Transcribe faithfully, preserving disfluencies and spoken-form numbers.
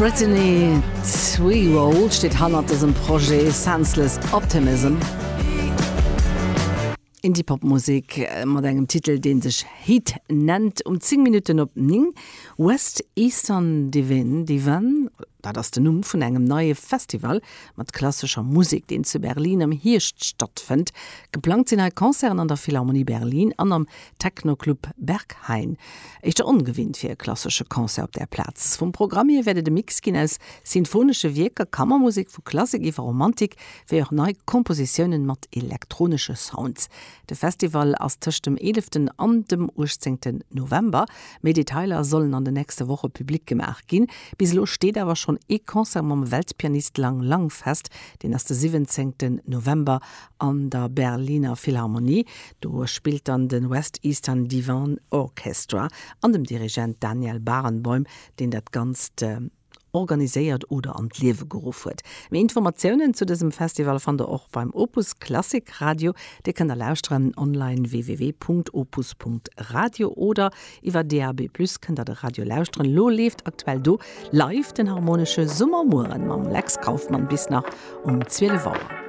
Brittany Twehroll steet hannert dësem Projet Senseless Optimism. Indie-Pop-Musek mat engem Titel, dee sech Heat nennt. Um zéng Minutten op néng. West Eastern Divin, Divan, dat ass den Numm vun engem neie Festival mat klassescher Musek, deen zu Berlin am Hierscht stattfënnt. Geplangt sinn hei Concerten an der Philharmonie Berlin an am Techno-Club Berghain. Éischter ongewinnt fir e klassesche Concert op där Plaz. Vum Programm hier wäert et e Mix ginn aus sinfonesche Wierker, Kammermusek vu Klassik iwwer Romantik, wéi och nei Kompositiounen mat elektronesche Sounds. De Festival ass tëscht dem eeleften an dem uechtzéngten November. Méi Detailer sollen an den nächste Woche publik gemaach ginn. Bis elo steet awer schonn ee Concert mam Weltpianist Lang Lang fest, deen ass de siwwenzéngten November an der Berliner Philharmonie. Do spillt dann de West Eastern Divan Orchestra an dem Dirigent Daniel Barenboim, deen dat Ganzt organiséiert oder an d'Liewe geruff huet. Méi Informatiounen zu dësem Festival fannt der och beim Opus Klassik Radio. Dir kënnt der lauschteren online www.opus.radio oder iwwer D A B plus kënnt der de Radio lauschteren. Lo leeft aktuell do live den harmonesche Summermueren mam Lex Kauffmann bis nach um zwielef Auer.